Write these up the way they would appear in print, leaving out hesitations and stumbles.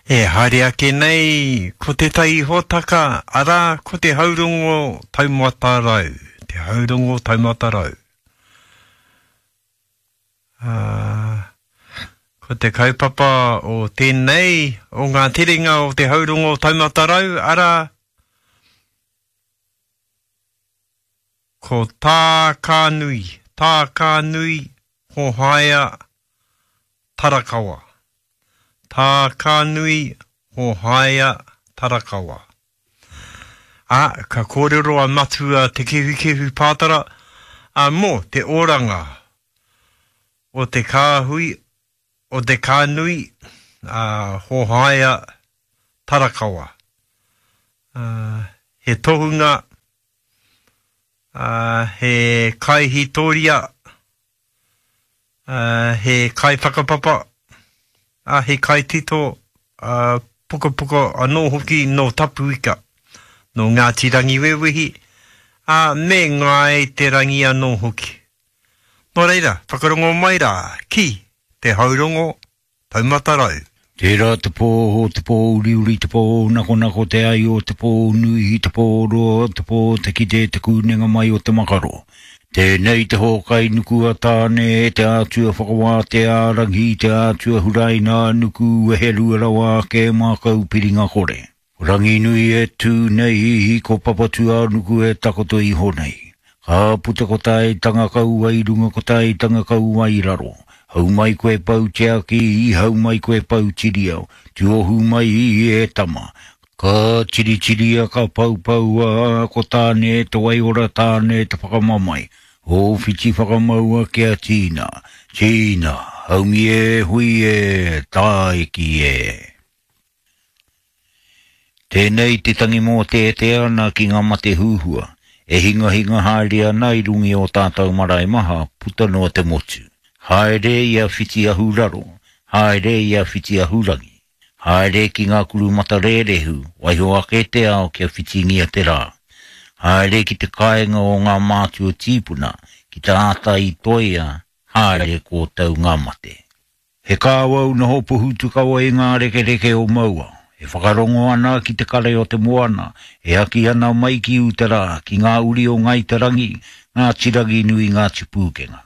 E haere ake nei ko tētahi hōtaka, arā, ko te haurongo taumata rau, te haurongo taumata rau. Ā, ko te kaupapa o tēnei, o ngā terenga o te haurongo taumata rau, arā, ko Tākānui, Tākānui Hohaia Tarakawa. Tākānui Hohaia Tarakawa. Ā, ka kōrero a Matua Te Kehukehu Pātara, ā, mō te oranga o te kāhui, o te kānui, ā, Hohaia Tarakawa. Ā, he tohunga, ā, he kaihītōria, ā, he kaiwhakapapa, ā, he kaitito, ā, pukapuka anō hoki nō Tapuika, nō Ngāti Rangiwewehi, ā, me Ngāi Te Rangi anō hoki. Nō reira, whakarongo mai rā ki te haurongo taumata rau. Tērā te pō, o te pō uriuri, te pō nakonako, te ai o te pō nui, te pō roa, te pō te kite, te kūnenga mai o te makaro. Tēnei te hōkai nuku a Tāne, te ātua whakawātea a Rangi, te ātua huraina a Nuku, weherua rawa ake mākau piringa kore. Ko Ranginui e tū nei, ko Papatūānuku e takoto iho nei. Ka puta ko Taitanga kau ai runga ko Taitanga kau ai raro. Hau mai koe Pou Tiaki, hau mai koe Pou Tiriao, tuohu mai e tama. Ka tiritiria ka poupoua ko Tāne te waiora Tāne te whakamamae. Ō whiti whakamaua kia tīna, tīna, haumi e hui e, tāiki e. Tēnei te tangi mōteatea ana ki ngā mate huhua e hingahinga haere ana i runga i ō tātou marae maha puta noa te motu. Haere i a Whiti Ahuraro, haere i a Whiti Ahurangi. Haere ki ngā kuru matarērehu, waiho ake te ao kia whitingia te rā. Haere ki te kāinga o ngā mātua tīpuna, ki te āta i toia, haere kōtou ngā mate. He kāwau noho pohutukawa i ngā rekereke o Maua, e whakarongo ana ki te kare o te moana, e aki ana mai ki uta rā, ki ngā uri o Ngāi Te Rangi, Ngāti Ranginui, Ngāti Pūkenga.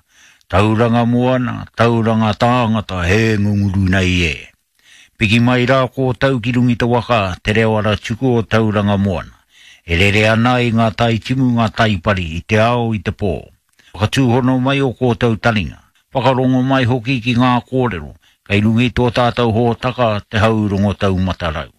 Tauranga moana, tauranga tāngata, he ngunguru nei e. Piki mai rā kōtau ki runga i te waka, te reo ara tuku o Tauranga Moana, e rere ana i ngā tai timu, ngā tai pari, i te ao, i te pō. Whakatūhono mai ō kōtou taringa, whakarongo mai hoki ki ngā kōrero kei runga i tō tātou hōtaka Te Hau Rongo Taumata Rau.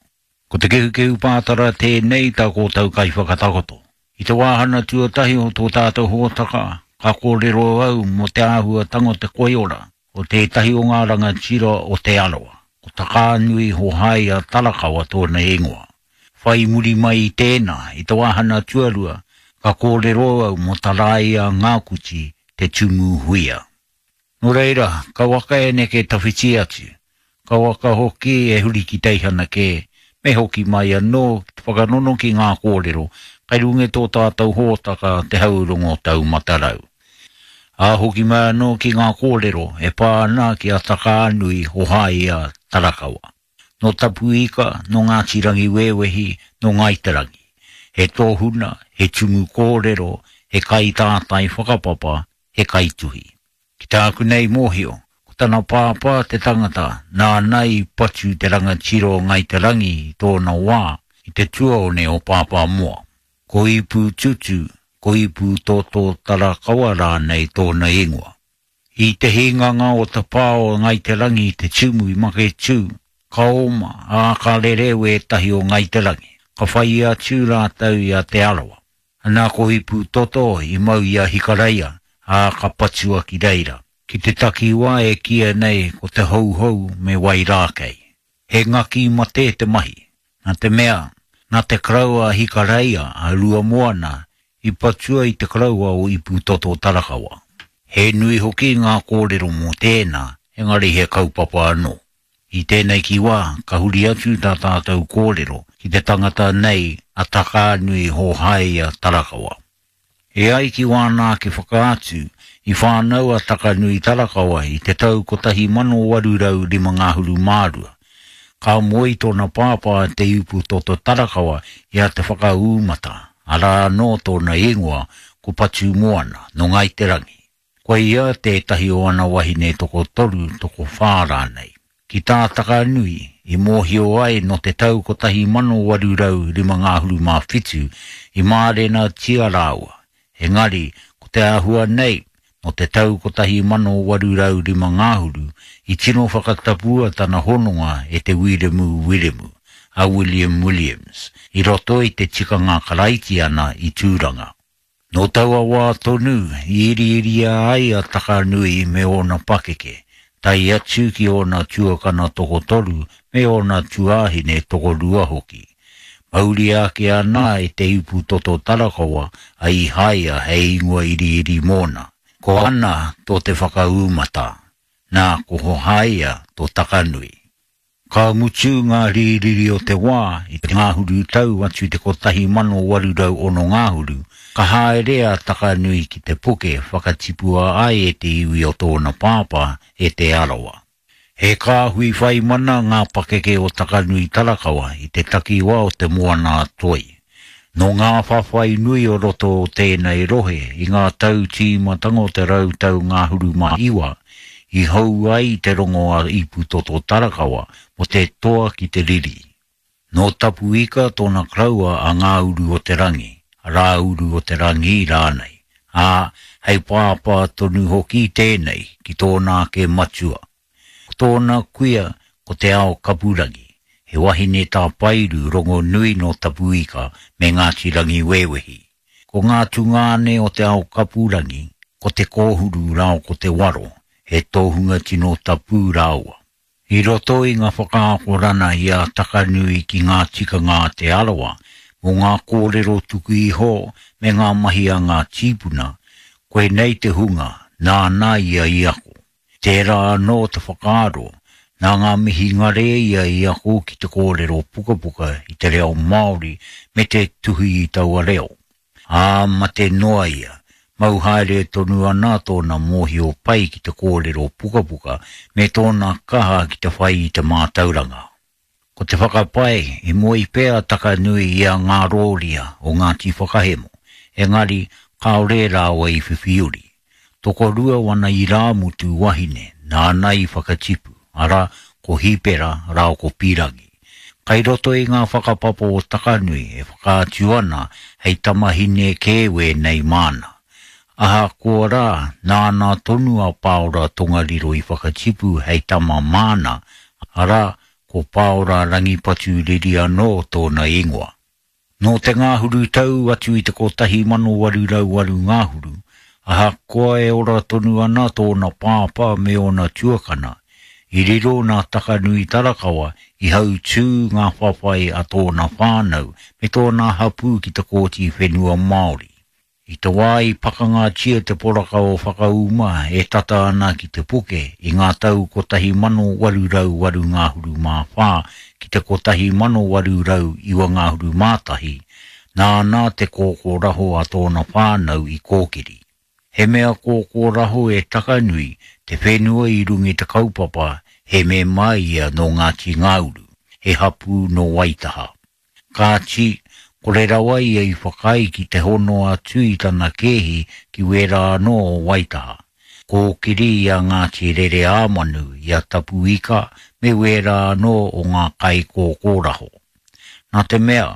Ko Te Kehukehu Pātara tēnei tā kōtou kaiwhakatakoto. I te wāhana tuatahi o tō tātou hōtaka, ka kōrero au mō te āhuatanga o te koiora o tētahi o ngā rangatira o Te Arawa, ko Takaanui Hohaia Tarakawa tōna ingoa. Whai muri mai i tēnā, i te wāhana tuarua, ka kōrero au mō Taraia Ngākuti, te tumu huia. Nō reira, kauaka e neke tawhiti atu, kauaka hoki e huri ki teihana kē, me hoki mai anō ki te whakanono ki ngā kōrero kei runga i tō tātou hōtaka Te Haurongo Taumata Rau. Ā, hoki mai anō ki ngā kōrero e pā ana ki a Takaanui Hohaia Tarakawa. Nō Tapuika, nō Ngāti Rangiwewehi, nō Ngāi Te Rangi. He tōhuna, he tumu kōrero, he kaitātai whakapapa, he kaituhi. Ki tāku nei mōhio, ko tana pāpā te tangata nāna i patu te rangatira o Ngāi Te Rangi i tōna wā i te tuaone o Pāpāmoa. Ko Ipūtutu, ko Ipūtōtō Tarakawa rānei tōna ingoa. I te hinganga o te pā o Ngāi Te Rangi i Te Tumu i Maketū, ka oma, ā, ka rere wētahi o Ngāi Te Rangi, ka whai atu rātou i a Te Arawa. Anā ko Ipūtoto i mau i a Hikareia, ā, ka patua ki reira, ki te takiwā e kīia nei ko Te Houhou me Wairākei. He ngaki mate te mahi, nā te mea, nā te karaua a Hikareia a Ruamoana i patua i te karaua o Ipūtoto Tarakawa. He nui hoki ngā kōrero mō tēnā, engari he kaupapa anō. I tēnei ki wā, ka huri atu tā tātou kōrero ki te tangata nei a Takaanui Hōhaia Tarakawa. E ai ki wāna ake whakaatu, i whānau a Takanui Tarakawa i te tau 1852. Ka moe i tōna pāpā Te Iputoto Tarakawa i a Te Whakaūmata, arā anō tōna ingoa ko Patumoana, nō Ngāi Te Rangi. Ko ia tētahi o ana wahine tokotoru, tokowhā rānei. Ki tā Takanui, i mōhio ai nō te tau 1857 i mārenatia rāua, engari ko te āhua nei, nō te tau 1805 ngahuru i tino whakatapua tana hononga e Te Wiremu Wiremu, a William Williams, i roto i te tikanga Karaitiana i Tūranga. Nō taua wā tonu i iriiria ai a Takanui me ōna pakeke, tae atu ki ōna tuakana tokotoru me ōna tuāhine tokorua hoki. Mauria ake ana e Te Iputoto Tarakawa a Īhāia hei ingoa iriiri mōna. Ko Ana tō Te Whakaūmata, nā ko Hohaia tō Takanui. Ka mutu ngā rīriri o te wā i te ngahuru tau atu i te 1806 ngahuru, ka haere a Takanui ki te puke whakatipua ai e te iwi o tōna pāpā, e Te Arawa. He kāhui whai mana ngā pakeke o Takanui Tarakawa i te takiwā o Te Moana-a-Toi. Nō ngā whawhai nui o roto o tēnei rohe i ngā tau tīmatanga o te rautau ngahuru mā iwa, i hou ai te rongo a Iputoto Tarakawa mō te toa ki te riri. Nō Tapuika tōna koroua a Ngā-uru-o-te-rangi, a Rā-uru-o-te-rangi rānei, ā, hei pāpā tonu hoki tēnei ki tōna ake matua. Ko tōna kuia ko Te Ao Kapurangi, he wahine tāpairu rongonui nō Tapuika me Ngāti Rangiwewehi. Ko ngā tungāne o Te Ao Kapurangi, ko Te Kōhuru rāo ko Te Waro, he tohunga tino tapu rāua. I roto i ngā whakaakorana i a Takanui ki ngā tikanga a Te Arawa mō ngā kōrero tuku iho me ngā mahi a ngā tīpuna, koinei te hunga nāna ia i ako. Tērā anō te whakaaro, nā ngā mihingare ia i ako ki te kōrero pukapuka i te reo Māori me te tuhi i taua reo. Ā, mate noa ia, mau haere tonu ana tōna mōhio pai ki te kōrero pukapuka me tōna kaha ki te whai i te mātauranga. Ko te whakapae, i moe pea a Takanui i a Ngārōria o Ngāti Whakahemo, engari kāore rāua i whiwhi uri. Tokorua wana irāmutu wahine nāna i whakatipu, arā, ko Hīpera rāua ko Pīrangi. Kai roto i ngā whakapapa o Takanui e whakaatu ana hei tamahine kē wēnei māna. Ahakoa rā, nāna tonu a Pāora Tongariro i whakatipu hei tama māna, arā, ko Pāora Rangipatu Riri anō tōna ingoa. Nō te ngahuru tau atu i te 1808 ngahuru, ahakoa e ora tonu ana tōna pāpā me ōna tuakana, i riro nā Takanui Tarakawa i hautū ngā whawhai a tōna whānau me tōna hapū ki te Kōti Whenua Māori. I te wā i pakangatia te poraka o Whakauma e tata ana ki Te Puke i ngā tau 1884 ki te 1891, nāna te kōkōraho a tōna whānau i kōkiri. He mea kōkōraho e Takanui te whenua i runga i te kaupapa he mema ia nō Ngāti Ngāuru, he hapū nō Waitaha. Kāti, kore rawa ia i whakaae ki te hono atu i tana kēhi ki wērā anō o Waitaha. Kōkiri i a Ngāti Rereāmanu, i a Tapuika me wērā anō o ngā kaikōkōraho. Nā te mea,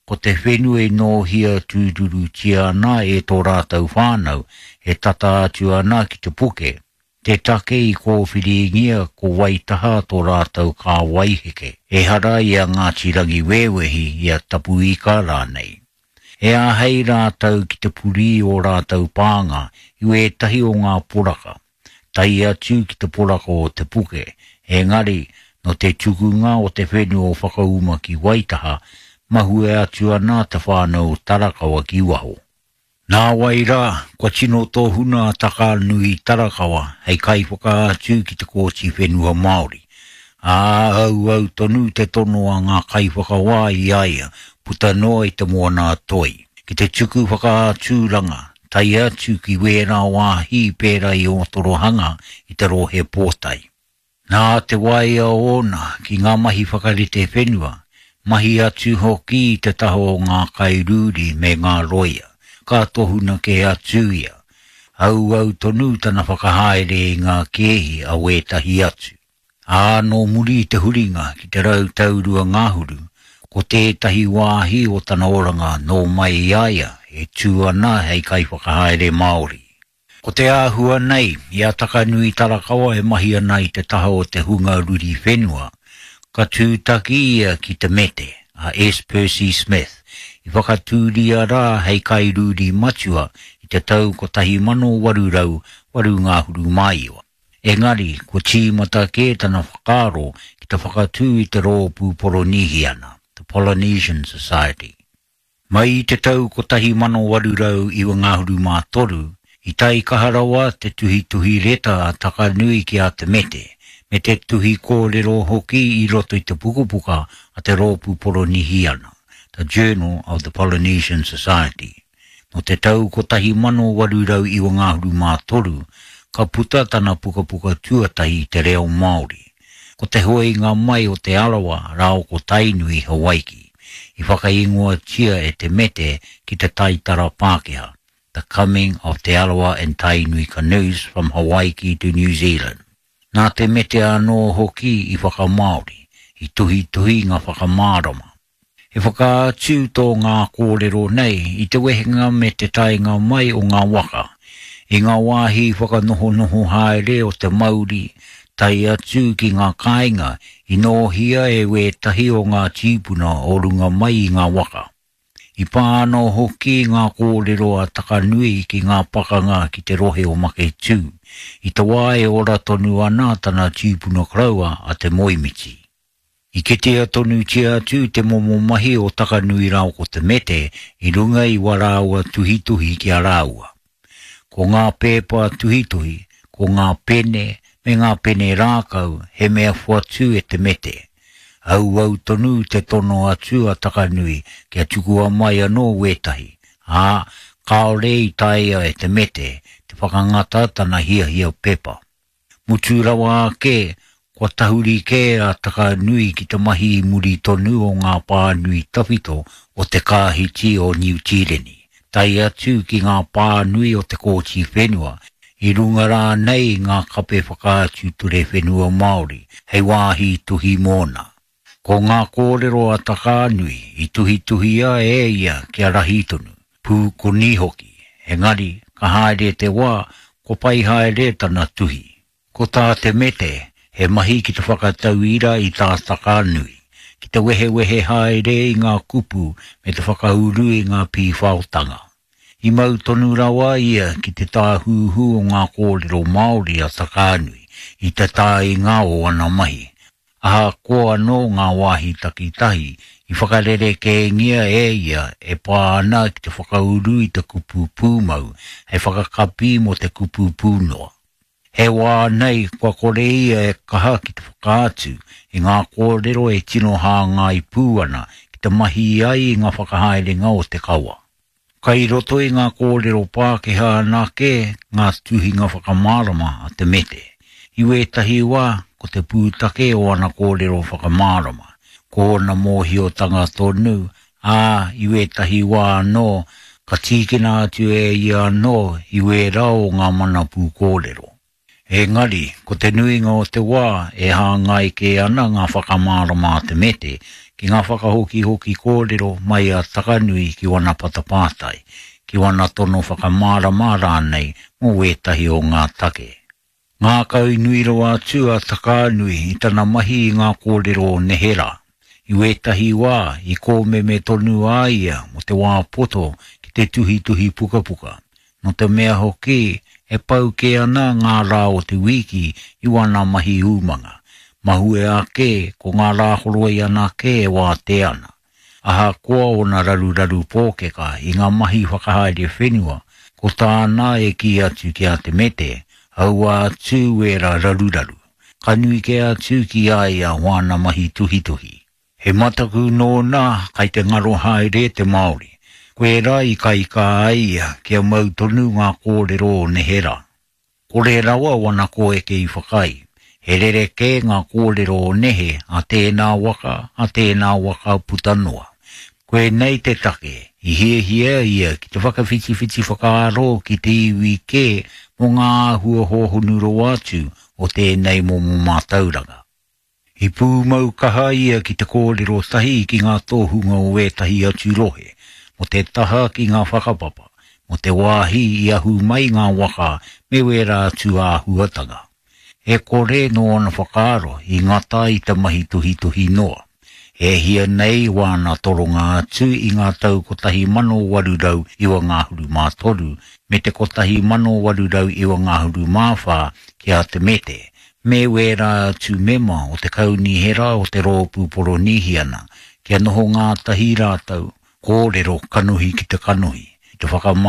ko te whenua i nōhia tūturutia ana e tō rātou whānau e tata atu ana ki te puke, Te take i kōwhiringia ko Waitaha tō rātou kāwai heke, ehara i a Ngāti Rangiwewehi, i a Tapuika rānei. E āhei rātou ki te purī ō rātou pānga i wētahi o ngā poraka, tae atu ki te poraka o Te Puke, engari, nō te tukunga o te whenua o Whakauma ki Waitaha, mahue atu ana te whānau o Tarakawa ki waho. Nāwai rā, kua tino tōhuna a Takanui Tarakawa hei kaiwhakaatu ki te Kōti Whenua Māori, ā, auau tonu te tono a ngā kaiwhakawā i a ia puta noa i Te Moana-a-Toi, ki te tuku whakaaturanga tae atu ki wērā wāhi pērā i Ōtorohanga i te Rohe Pōtae. Nā te waia ōna ki ngā mahi whakarite whenua, mahi atu hoki i te taha o ngā kairūri me ngā rōia, ka tohuna kē atu ia. Auau tonu tana whakahaere i ngā kēhi a wētahi atu. Ā, nō muri i te huringa ki te rautau ruangahuru, ko tētahi wāhi o tana oranga nō mai i a ia e tū ana hei kaiwhakahaere Māori. Ko te āhua nei, i a Takanui Tarakawa e mahi ana i te taha o te hunga ruri whenua, ka tūtaki ia ki Te Mete, a S. Percy Smith, i whakatūria rā hei kairūri matua i te tau 1889. Engari, kua tīmata kē tana whakaaro ki te whakatū i te Rōpū Poronīhiana, the Polynesian Society. Mai i te tau 1893, i taikaha rawa te tuhituhi reta a Takanui ki a Te Mete, me te tuhi kōrero hoki i roto i te pukapuka a te Rōpū Poronihiana, The Journal of the Polynesian Society. Nō te tau 1893, ka puta tana pukapuka tuatahi i te reo Māori, ko te hoenga mai o Te Arawa rāo ko Tainui Hawaiki, i whakaingoatia e Te Mete ki te taitara Pākehā, The Coming of Te Arawa and Tainui Canoes from Hawaiki to New Zealand. Nā Te Mete anō hoki i whakamāori, i tuhituhi ngā whakamārama. He whakaatu tō ngā kōrero nei i te wehenga me te taenga mai o ngā waka, i ngā wāhi whakanohonoho haere o te mauri, tae atu ki ngā kāinga i nōhia e wētahi o ngā tīpuna o runga mai i ngā waka. I pā anō hoki ngā kōrero a Takanui ki ngā pakanga ki te rohe o Maketū, i te wā e ora tonu ana tana tīpuna koroua a Te Moemiti. I kitea tonutia atu te momo mahi o Takanui rāua ko Te Mete i runga i wā rāua tuhituhi ki a rāua. Ko ngā pēpa tuhituhi, ko ngā pene me ngā pene rākau he mea whatu e Te Mete. Auau tonu te tono atu a Takanui kia tukua mai anō wētahi, ā, kāore i taea e Te Mete te whakangata tana hiahia pepa. Mutu rawa ake, kua tahuri kē a Takanui ki te mahi i muri tonu o ngā pānui tawhito o te Kāhiti o Niu Tīreni, tae atu ki ngā pānui o te Kōti Whenua, i runga rānei i ngā kape whakaatu ture whenua Māori hei wāhi tuhi mōna. Ko ngā kōrero a Takaanui i tuhituhia e ia kia rahi tonu, pūkoni hoki, engari ka haere te wā kua pai haere tana tuhi. Ko tā Te Mete, he mahi ki te whakatauira i tā Takaanui, ki te wehewehe haere i ngā kupu me te whakauru i ngā pīwhaotanga. I mau tonu rawa ia ki te tāhuhu o ngā kōrero Māori a Takaanui i te tāinga o ana mahi, ahakoa anō ngā wāhi takitahi i whakarerekēngia e ia e pā ana ki te whakauru i te kupu pūmau hei whakakapi mō te kupu pūnoa. He wā nei kua kore ia e kaha ki te whakaatu i ngā kōrero e tino hāngai pū ana ki te mahi ai i ngā whakahaerenga o te kawa. Kai roto i ngā kōrero Pākehā anake ngā tuhinga whakamārama a Te Mete. I wētahi wā, ko te pūtake o ana kōrero whakamārama, ko ōna mōhiotanga tonu, ā, i wētahi wā anō, ka tīkina atu e ia anō i wērā o ngā mana pūkōrero. Engari, ko te nuinga o te wā e hāngai kē ana ngā whakamārama a Te Mete ki ngā whakahokihoki kōrero mai a Takanui ki wana patapātai, ki wana tono whakamārama rānei mō wētahi o ngā take. Ngākau nui rawa atu a Takaanui i tana mahi i ngā kōrero o neherā. I wētahi wā, i kōmeme tonu a ia mō te wā poto ki te tuhituhi pukapuka, nō te mea hoki e pau kē ana ngā rā o te wīki i wana mahi umanga, mahue ake ko ngā rā horoi anake e wātea ana. Ahakoa ōna raruraru pōkeka i ngā mahi whakahaere whenua, ko tāna e kī atu ki a Te Mete, aua atu wērā raruraru, ka nui kē atu ki a ia wāna mahi tuhituhi. He mataku nōna kai te ngaro haere te Māori, koirā i kaikā ai ia kia mau tonu ngā kōrero o neherā. Kore rawa wana kōeke i whakaae. He rerekē ngā kōrero o nehe a tēnā waka, a tēnā waka puta noa. Koinei te take i hiahia ia ki te whakawhitiwhiti whakaaro ki te iwi kē mō ngā āhua hōhonu rawa atu o tēnei momo mātauranga. I pūmau kaha ia ki te kōrero tahi ki ngā tohunga o ētahi atu rohe, mō te taha ki ngā whakapapa, mō te wāhi i ahu mai ngā waka me wērā atu āhuatanga. E kore nōna whakaaro i ngata i te mahi tuhituhi noa. E hia nei wāna toronga atu i ngā tau 1893 me te 1894 ki a Te Mete, me wērā atu mema o te Kaunihera o te Rōpū Poronīhiana, kia noho ngātahi rātou, kōrero kanohi ki te kanohi, i te whakamā.